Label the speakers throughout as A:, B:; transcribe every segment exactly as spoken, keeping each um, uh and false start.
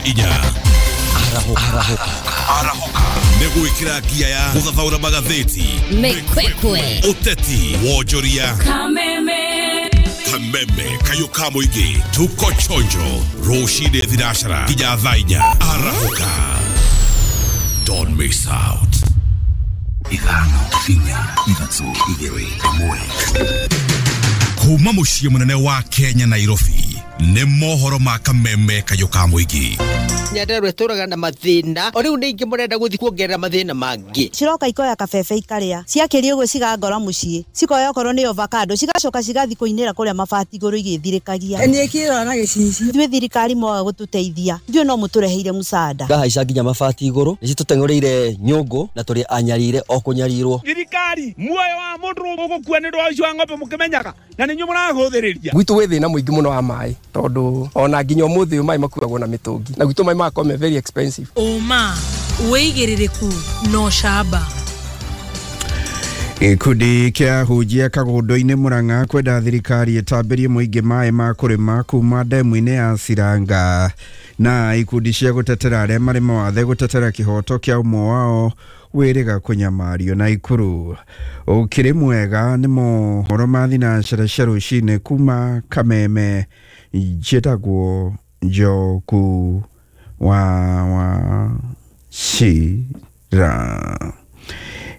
A: inya. Arahũka. Arahũka. Nĩ gwĩkĩra ngia ya gũthathaũra magathĩti,
B: Mĩkwekwe,
A: ũteti, wonjoria,
B: Kameme,
A: Kameme kayũ ka mũingĩ. Tuko chonjo rũcinĩ thinacara nginya thaa inya. Arahũka. Don't miss out.
C: Ithano, inya, ithatũ, igĩrĩ, ĩmwe.
A: Kuma mũciĩ mũnene wa Kenya Nairobi nĩ mohoro ma Kameme kayũ ka mũingĩ.
D: Nyandarua ĩtũraga na mathĩna o rĩu nĩ ingĩ mũrenda gũthiĩ kuongerera mathĩna mangĩ.
E: Ciroka ikoya kabebe ikarĩa, ciakĩria ũguo cigangora mũciĩ, cikoya okorwo nĩ avocado cigacoka cigathiĩ kũinĩra kũrĩa mabati igũrũ igĩthirĩkagia.
F: Niĩ kĩrora na gĩcicio.
E: Ithuĩ thirikari mwaga gũtũteithia, ithuĩ no mũtũreheire mũcanda.
G: Ngahaica nginya mabati igũrũ, nĩ citũteng'ũrĩire nyũngũ na tũrĩ anyarire o kũnyarirwo.
H: Thirikari muoyo wa mũndũ ũgũkua nĩ ũndũ wa ũici wa ng'ombe mũkĩmenyaga na nĩ inyuĩ mũrahũthĩrĩria.
I: Gwitũ gwĩ thĩna mũingĩ mũno wa maĩ tondũ ona nginya ũmũthĩ ũyũ maĩ makuagwo na mĩtũngi na gwitũ maĩ magakorwo me very expensive.
J: Ũma, wĩigĩrĩrĩku na ũcamba.
K: Gĩkundi kĩa ahunjia Kagũndũ-inĩ Murang'a kwenda thirikari ĩtambĩrie mũingĩ maĩ ma kũrĩma kuma ndemu-inĩ ya Ciranga na ikundi cia gũtetera arĩa marĩ mawathe gũtetera kĩhoto kĩa ũmwe wao wĩrĩga kũnyamario na Ikuru. Ũkĩrĩ mwega nĩ mohoro ma thinacara cia rũcinĩ kuma Kameme. Njĩtagwo Njoku wa wa Cira.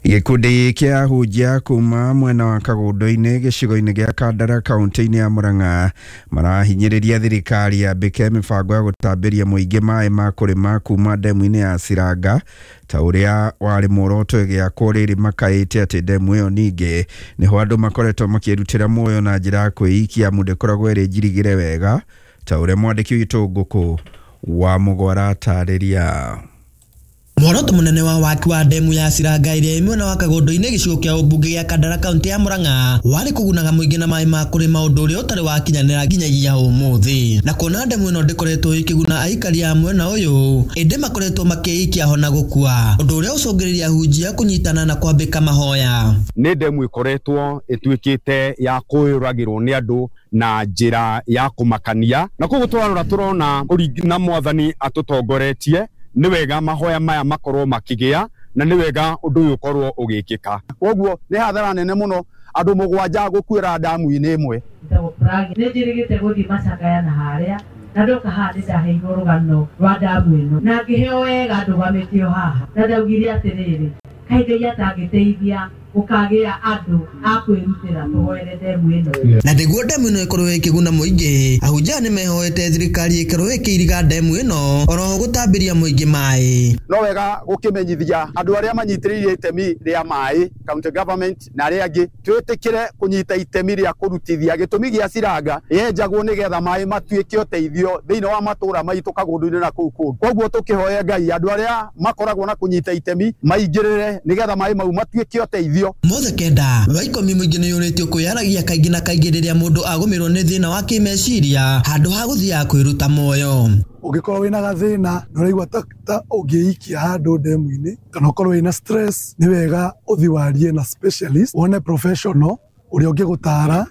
K: Gĩkundi kĩa ahunjia kuma mwena wa Kagũndũ-inĩ gĩcigo-inĩ gĩa Kandara kaunti-inĩ ya Murang'a marahinyĩrĩria thirikari yambĩke mĩbango ya gũtambĩria mũingĩ maĩ ma kũrĩma kuma ndemu-inĩ ya Ciranga ta ũrĩa warĩ muoroto ĩgĩakwo rĩrĩ makaĩte atĩ ndemu ĩyo ningĩ nĩho andũ makoretwo makĩrutĩra muoyo na njĩra ya kwĩikia amu ndĩkoragwo ĩrĩ njirigĩre wega ta ũrĩa mwandĩki witũ Ngũkũ wa Mũgwara atarĩria.
L: Muoroto munene wa waki wa ndemu ya Ciranga ĩrĩa ĩ mwena wa Kagũndũ-inĩ gĩcigo kĩa ũmbunge gĩa Kandara kaunti ya Murang'a warĩ kũgunaga mũingĩ na maĩ ma kũrĩma ũndũ ũrĩa ũtarĩ wakinyanĩra nginyagia ũmũthĩ. Na kuona ndemu ĩno ndĩkoretwo ĩkĩguna aikari a mwena ũyũ ĩndĩ makoretwo makĩikia hona gũkua, ũndũ ũrĩa ũcũngĩrĩria ahunjia kũnyitana na kwambĩka mahoya.
M: Nĩ ndemu ĩkoretwo ĩtuĩkĩte ya kũyũragĩrwo nĩ andũ na njĩra ya kũmakania, na koguo tũrarora tũrona na mwathani atũtongoretie nĩ wega mahoya maya makorwo makĩgĩa na nĩ wega ũndũ ũyũ ũkorwo ũgĩkĩka.
N: Koguo nĩ hathara nene mũno andũ mũgwanja gũkuĩra ndamu-inĩ ĩmwe.
O: Nĩ njĩrĩgĩte gũthiĩ macakaya na harĩa na ndoka haha nĩ ndaheirwo rũgano rwa ndamu ĩno na ngĩheo wega ndũgamĩtio haha na ndaugire atĩrĩrĩ, kaĩ Ngai atangĩteithia gũkagĩa andũ a kwĩrutĩra tũhoere ndemu ĩno.
L: Na nĩguo ndemu ĩno ĩkorwo ĩkĩguna mũingĩ, ahunjia nĩ mehoete thirikari ĩkorwo ĩkĩiriga ndemu ĩno oroho gũtambĩria mũingĩ maĩ.
N: No wega gũkĩmenyithia andũ arĩa manyitĩrĩire itemi rĩa maĩ county government na arĩa angĩ twĩtĩkĩre kũnyita itemi rĩa kũrutithia gĩtũmi gĩa Ciranga yenjagwo nĩgetha maĩ matuĩke ũteithio thĩinĩ wa matũũra maitũ Kagũndũ-inĩ na kũu kũngĩ. Koguo tũkĩhoe Ngai andũ arĩa makoragwo na kũnyita itemi maingĩrĩre nĩgetha maĩ mau matuĩke ũteithio.
L: Mothe kenda wa ikũmi mũingĩ nĩyũrĩtio kwĩyaragia kaingĩ na kaingĩ rĩrĩa mũndũ agũmĩrwo nĩ thĩna wa kĩmeciria handũ ha gũthiaga kwĩruta muoyo.
P: Ũngĩkorwo wĩna gathĩna na ũraigua ta, ta ũngĩikia handũ ndemu-inĩ kana ũkorwo wĩna stress, nĩ wega ũthiĩ warie na specialist wone professional ũrĩa ũngĩgũtara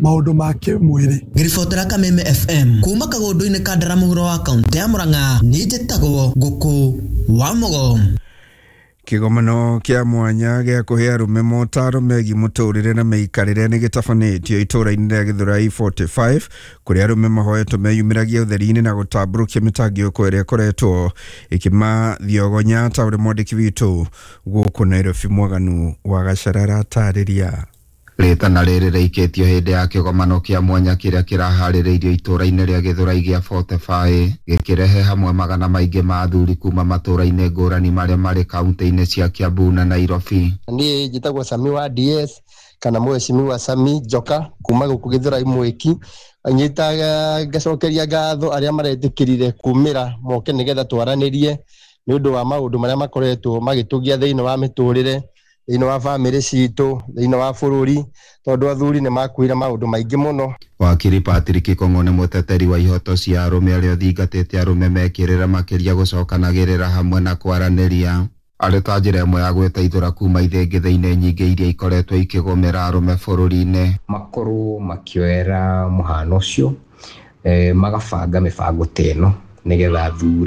P: maũndũ ma kĩmwĩrĩ.
L: Ngĩribotera Kameme F M kuma Kagũndũ-inĩ Kandara mũhuro wa kaunti ya Murang'a, niĩ njĩtagwo Ngũkũ wa Mũgo.
K: Kĩgomano kĩa mwanya gĩa kũhe arũme motaro megiĩ mũtũrĩre na mĩikarĩre nĩ gĩtabanĩtio itũũra-inĩ rĩa Gĩthũrai forty-five kũrĩa arũme mahoetwo meyumĩragia ũtheri-inĩ na gũtambũrũkia mĩtangĩko ĩrĩa ĩkoretwo ĩkĩmathiogonya ta ũrĩa mwandĩki witũ gũkũ Nairobi Mwaganu wa Gacara aratarĩria.
Q: Rĩtana rĩrĩ rĩikĩtio hĩndĩ ya kĩgomano kĩa mwanya kĩrĩa kĩraharĩrĩirio itũũra-inĩ rĩa Gĩthũrai gĩa forty-five gĩkĩrehe hamwe magana maingĩ ma athuri kuma matũũra-inĩ ngũrani marĩa marĩ kaunti-inĩ cia Kiambu na Nairobi.
R: Niĩ njĩtagwo Sami wa D S kana mheshimiwa Sami Njoka kuma gũkũ Gĩthũrai Mwĩki. Nyitaga ngacokeria ngatho arĩa maretĩkĩrire kumĩra moke nĩgetha twaranĩrie nĩ ũndũ wa maũndũ marĩa makoretwo magĩtũgia thĩinĩ wa mĩtũrĩre, thĩinĩ wa bamĩrĩ citũ, thĩinĩ wa bũrũri, tondũ athuri nĩ makuire maũndũ maingĩ mũno.
Q: Wakiri Patrick Kong'o nĩ mũteteri wa ihoto cia arũme arĩa ũthingatĩte arũme mekĩrĩra makĩria gũcokanagĩrĩra hamwe na kwaranĩria arĩ ta njĩra ĩmwe ya gwĩteithũra kuma ithĩngĩthĩ-inĩ nyingĩ iria ikoretwo ikĩgũmĩra arũme bũrũri-inĩ.
S: Makorwo makĩoera mũhano ũcio, eh, magabanga mĩbango ta ĩno nĩgetha athuri